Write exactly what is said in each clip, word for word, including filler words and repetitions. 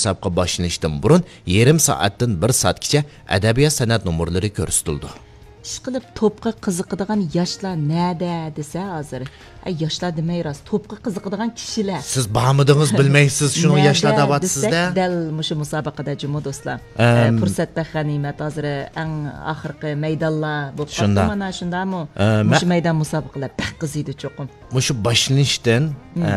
مۇسابىقە باشلىنىشتىن بۇرۇن يېرىم سائەتتىن بىر سائەتكىچە ئەدەبىيات سەنئەت نومۇرلىرى كۆرسىتىلىدۇ. ئىشقىلىپ، توپقا قىزىقىدىغان ياشلار نەدە دېسە ھازىر، ئەي، ياشلار دېمەي راست، توپقا قىزىقىدىغان كىشىلەر. سىز بارمىدىڭىز، بىلمەيسىز، شۇنىڭ نەدە ياشلار دەۋاتىسىز دېسەك، دە. دەل مۇشۇ مۇسابىقىدە جۇمۇ دوستلار. ئەم. ئە، پۇرسەت بەك غەنىيمەت. ھازىر ئەڭ ئاخىرقى مەيدانلار بولۇپ قاپتۇ شۇنداق. مانا، شۇنداقمۇ؟ ئە، مە- مۇشۇ مەيدان مۇسابىقىلەر بەك قىزىيدۇ چوقۇم. مۇشۇ باشلىنىشتىن، مم. ئە،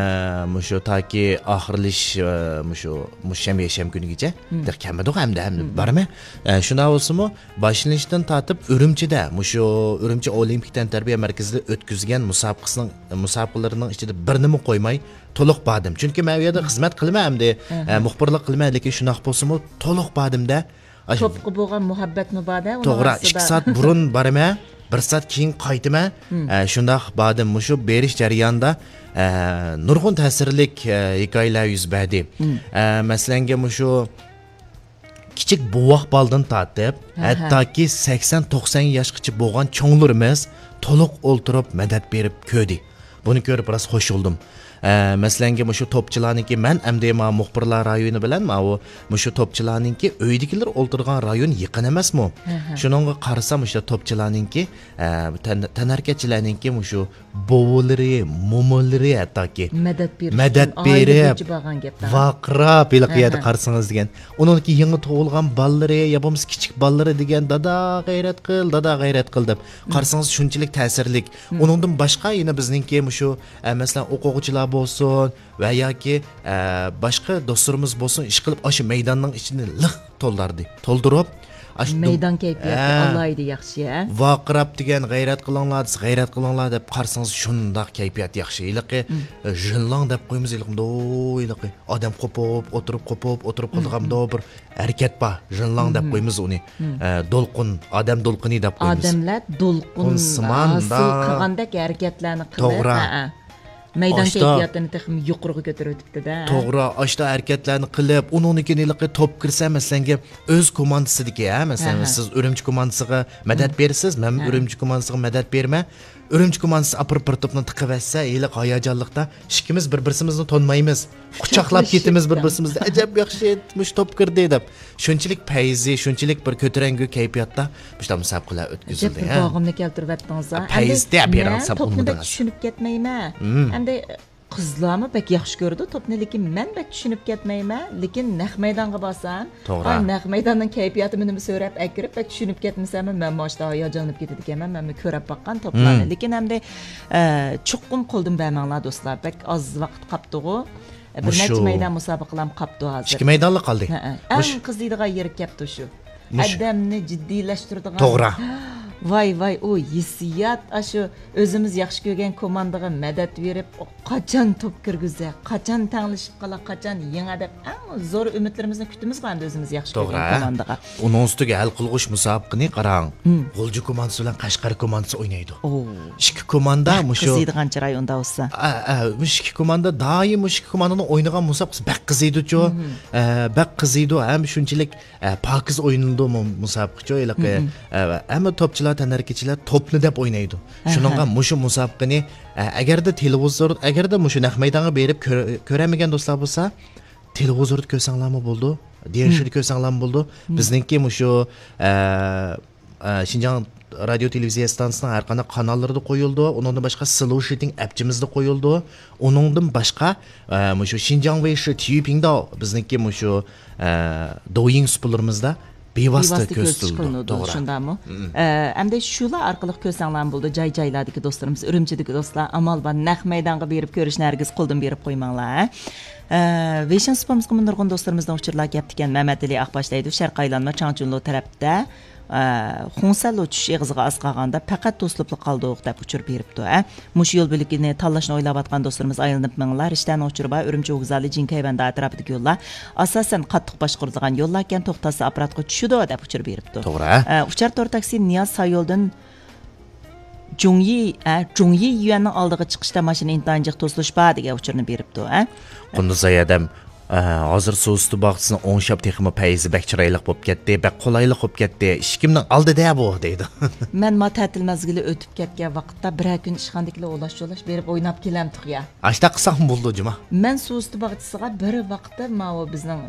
مۇشۇ تاكى ئاخىرلىشىش، ئە، مۇشۇ، مۇشۇ شەم-، يەكشەنبە كۈنىگىچە مم. دەپ كەلمىدۇق ئەمدى، ئەمدى مم. بارمەن. ئە، شۇنداق بولسىمۇ، باشلىنىشتىن تارتىپ ئۈرۈمچىدە، مۇشۇ ئۈرۈمچى ئولىمپىك تەنتەربىيە مەركىزىدە ئۆتكۈزگەن مۇسابىقىسىنىڭ، مۇسابىقىلىرىنىڭ ئىچىدە بىرنىمۇ قويماي، تولۇق باردىم. چۈنكى مەن ئۇ يەردە خىزمەت قىلىمەن ئەمدى، ئەھە. ئە، مۇخبىرلىق قىلىمەن، لېكىن شۇنداق بولسىمۇ، تولۇق باردىم-دە. ئاشۇ توپقا بولغان مۇھەببەتمۇ بار-دە، ئۇنىڭ توغرا، ئارىسىدا. ئىككى سائەت بۇرۇن بارىمەن، بىر سائەت كېيىن قايتىمەن. مم. ئە، شۇنداق باردىم. مۇشۇ بېرىش جەريانىدا، ئە، نۇرغۇن تەسىرلىك، ئە، ھېكايىلەر يۈز بەردى. مم. ئە، مەسىلەنگە، مۇشۇ كىچىك بوۋاق بالىدىن تارتىپ، ئەھە. ھەتتاكى سەكسەن، توقسان ياشقىچە بولغان چوڭلىرىمىز تولۇق ئولتۇرۇپ مەدەت بېرىپ كۆردى. بۇنى كۆرۈپ راست خوش بولدۇم. ئە، مەسىلەنگە، مۇشۇ توپچىلارنىڭكى، مەن ئەمدى ما مۇخبىرلار رايونى بىلەن ماۋۇ، مۇشۇ توپچىلارنىڭكى ئۆيدىكىلەر ئولتۇرغان رايون يېقىن ئەمەسمۇ؟ ھە، ھە. شۇنىڭغا قارىسام، مۇشۇ توپچىلارنىڭكى، ئە، تەن-، تەنھەرىكەتچىلەرنىڭكى مۇشۇ بوۋىلىرى، مومىلىرى ھەتتاكى مەدەت بېرىش مەدەت ئۈچۈن ئائىلە بېرىپ، بويىچە بارغان گەپ. ۋارقىراپ ھېلىقى ھە، يەردە ھە. قارىسىڭىز دېگەن. ئۇنىڭدىكى يېڭى تۇغۇلغان بالىلىرى يا بولمىسا كىچىك بالىلىرى دېگەن، «دادا، غەيرەت قىل، دادا، غەيرەت قىل» دەپ. مم. قارىسىڭىز شۇنچىلىك تەسىرلىك. مم. ئۇنىڭدىن باشقا يەنە بىزنىڭكى مۇشۇ، ئە، مەسىلەن، ئوقۇغۇچىلار بولسۇن ۋە ياكى، ئە، باشقا دوستلىرىمىز بولسۇن، ئىشقىلىپ ئاشۇ مەيداننىڭ ئىچىنى لىق تولدۇردى، تولدۇرۇپ، ئاشۇ مەيدان دۇم-، كەيپىياتى ئە، ئالاھىدە ياخشى، ھە؟ ۋارقىراپ دېگەن، «غەيرەت قىلىڭلار» دېسە، «غەيرەت قىلىڭلار» دەپ قارىسىڭىز شۇنداق كەيپىيات ياخشى. ھېلىقى، مم. ئە، ژىنلاڭ دەپ قويىمىز، ھېلىقى، ھېلىقى ئادەم قوپۇپ ئولتۇرۇپ، قوپۇپ ئولتۇرۇپ مم، قىلىدىغان مم. بىر ھەرىكەت بار. ژىنلاڭ دەپ مم. قويىمىز ئۇنى. مم. ئە، دولقۇن، ئادەم دولقۇنى دەپ قويىمىز. ئادەملەر دولقۇن قۇن سىمان ھاسىل دا. قىلغاندەك ھەرىكەتلەرنى قىلىپ، توغرا. ھەئە. مەيدان ئاشتا كەيپىياتىنى تېخىمۇ يۇقىرىغا كۆتۈرۈۋېتىپتۇ-دە. توغرا، ئاشتا ھەرىكەتلەرنى قىلىپ، ئۇنىڭدىن كېيىن ھېلىقى توپ كىرسە، مەسىلەنگە، ئۆز كوماندىسىدىكى، ھە، مەسىلەن، ھە، ھە. سىز ئۈرۈمچى كوماندىسىغا مەدەت ھە. بېرىسىز، مەنمۇ ھە. ئۈرۈمچى كوماندىسىغا مەدەت بېرىمەن. ئۈرۈمچى كوماندىسى ئاپىرىپ بىر توپنى تىقىۋەتسە، ھېلىقى ھاياجانلىقتا ئىككىمىز بىر-بىرسىمىزنى تونۇمايمىز. قۇچاقلاپ كېتىمىز بىر-بىرسىمىزنى. ئەجەب ياخشى، مۇشۇ توپ كىردى دەپ. شۇنچىلىك پەيزى، شۇنچىلىك بىر كۆتۈرەڭگۈ كەيپىياتتا مۇشۇنداق مۇسابىقىلەر ئۆتكۈزۈلدى، ئەجەب بىر ھە؟ باغىمنى كەلتۈرۈۋەتتىڭىز-ھە. ھە، پەيزى ئەمدى دەپ بېرىڭ، مەن سەن توپنى بەك ئۇنىمىدىڭىز. چۈشىنىپ كەتمەيمەن. مم. ئەمدى قىزلارمۇ بەك ياخشى كۆرىدۇ توپنى، لېكىن مەن بەك چۈشىنىپ كەتمەيمەن. لېكىن نەق مەيدانغا بارسام، توغرا. ئاي، نەق مەيداننىڭ كەيپىياتىمۇ نېمە سۆرەپ ئەكىرىپ، بەك چۈشىنىپ كەتمىسەممۇ، مەنمۇ ئاشتا ھاياجانلىنىپ كېتىدىكەنمەن، مەنمۇ كۆرەپ باققان توپلارنى. مم. لېكىن ئەمدى، ئە، چوقۇم قولدىن بەرمەڭلار، دوستلار. بەك ئاز ۋاقىت قاپتىغۇ. بىر مۇشۇ نەچچە مەيدان مۇسابىقىلەرمۇ قاپتۇ ھازىر. ئىككى مەيدانلا قالدى. ھەئە. ئەڭ مۇش-، قىزىيدىغان يېرى كەپتۇ شۇ. مۇش-، ئادەمنى جىددىيلەشتۈرىدىغان. توغرا. ۋاي، ۋاي، ئۇ ھېسسىيات، ئاشۇ ئۆزىمىز ياخشى كۆرگەن كوماندىغا مەدەت بېرىپ، ئۇ قاچان توپ كىرگۈزە، قاچان تەڭلىشىپ قالا، قاچان يېڭە دەپ ئەڭ زور ئۈمىدلىرىمىزنى كۈتىمىز-غۇ ئەمدى ئۆزىمىز ياخشى توغرا. كۆرگەن كوماندىغا. ئۇنىڭ ئۈستىگە ھەل قىلغۇچ مۇسابىقىنى قاراڭ. مم. غۇلجا كوماندىسى بىلەن قەشقەر كوماندىسى ئوينايدۇ. ئوو. ئىككى كوماندا بەك مۇشۇ قىزىيدىغان چىراي ئۇندا بولسا. ئە، ئە، مۇشۇ ئىككى كوماندا دائىم مۇشۇ ئىككى كوماندىنىڭ ئوينىغان مۇسابىقىسى بەك قىزىيدۇچۇ. مم. ئە، بەك قىزىيدۇ ھەم شۇنچىلىك، ئە، پاكىز ئوينىلىدۇ مۇ-، مۇسابىقىچۇ. ھېلىقى، مم. ئە، ھەممە توپچىلار، تەنھەرىكەتچىلەر توپنى دەپ ئوينايدۇ. ئەھە. شۇنىڭغا مۇشۇ مۇسابىقىنى، ئە، ئەگەردە تېلېۋىزور، ئەگەردە مۇشۇ نەق مەيدانغا بېرىپ كۆر-، كۆرەلمىگەن دوستلار بولسا، تېلېۋىزوردا كۆرسەڭلارمۇ بولىدۇ، دىيەنشىدە مم. كۆرسەڭلارمۇ بولىدۇ. مم. بىزنىڭكى مۇشۇ، ئە، ئە، شىنجاڭ رادىيو تېلېۋىزىيە ئىستانسىسىنىڭ ھەر قانداق قاناللىرىدا قويۇلىدۇ. ئۇنىڭدىن باشقا سلوشىتىڭ ئەپچىمىزدە قويۇلىدۇ. ئۇنىڭدىن باشقا، ئە، مۇشۇ شىنجاڭ ۋېيشى تيۈبىڭداۋ بىزنىڭكى مۇشۇ، ئە، دويىڭ سۇپىلىرىمىزدا بىۋاسىتە بىۋاسىتە كۆرسىتىش كۆرسىتىلىدۇ. قىلىنىدۇ، توغرا. شۇنداقمۇ؟ مم. ئە، ئەمدى شۇلار ئارقىلىق كۆرسەڭلارمۇ بولىدۇ، جاي-جايلاردىكى دوستلىرىمىز، ئۈرۈمچىدىكى دوستلار، ئامال بار، نەق مەيدانغا بېرىپ كۆرۈشنى ھەرگىز قولدىن بېرىپ قويماڭلار، ھە. ئە، ۋېيشىن سۇپىمىزغىمۇ نۇرغۇن دوستلىرىمىزدىن ئۇچۇرلار كەپتىكەن. مەمەتئېلى ئاقباش دەيدۇ، شەرقىي ئايلانما چاڭچۈنلۇ تەرەپتە، ئە، خۇڭسەنلۇ چۈش ئېغىزىغا ئاز قالغاندا پەقەت توسۇلۇپلا قالدۇق دەپ ئۇچۇر بېرىپتۇ، ھە. مۇشۇ يول بۆلىكىنى تاللاشنى ئويلاۋاتقان دوستلىرىمىز ئايلىنىپ مېڭىڭلار. رىشتەنىڭ ئۇچۇرى بار، ئۈرۈمچى ۋوگزالى، جىنكەيۋەندە ئەتراپىدىكى يوللار ئاساسەن قاتتىق باشقۇرۇلىدىغان يوللاركەن، توختاتسا ئاپپاراتقا چۈشىدۇ دەپ ئۇچۇر بېرىپتۇ. توغرا. ئە، ئۇچار تور تاكسى نىياز سايولدىن جۇڭيى، ئە، جۇڭيى يۈەننىڭ ئالدىغا چىقىشتا ماشىنا ئىنتايىن جىق توسۇلۇش بار دېگەن ئۇچۇرنى بېرىپتۇ، ئە. قۇندۇزئاي ئادەم، ئە، ھازىر سۇ ئۈستى باغچىسىنى ئوڭشاپ تېخىمۇ پەيزى بەك چىرايلىق بولۇپ كەتتى، بەك قولايلىق بولۇپ كەتتى، ئىشىكىمنىڭ ئالدىدە بۇ دەيدۇ. مەن ما تەتىل مەزگىلى ئۆتۈپ كەتكەن ۋاقىتتا بىرەر كۈن ئىشخانىدىكىلەر ئولاش-چولاش بېرىپ ئويناپ كېلەمتۇق يا. ئاشۇنداق قىلساقمۇ بولىدۇ جۇما. مەن سۇ ئۈستى باغچىسىغا بىر ۋاقىتتا ماۋۇ بىزنىڭ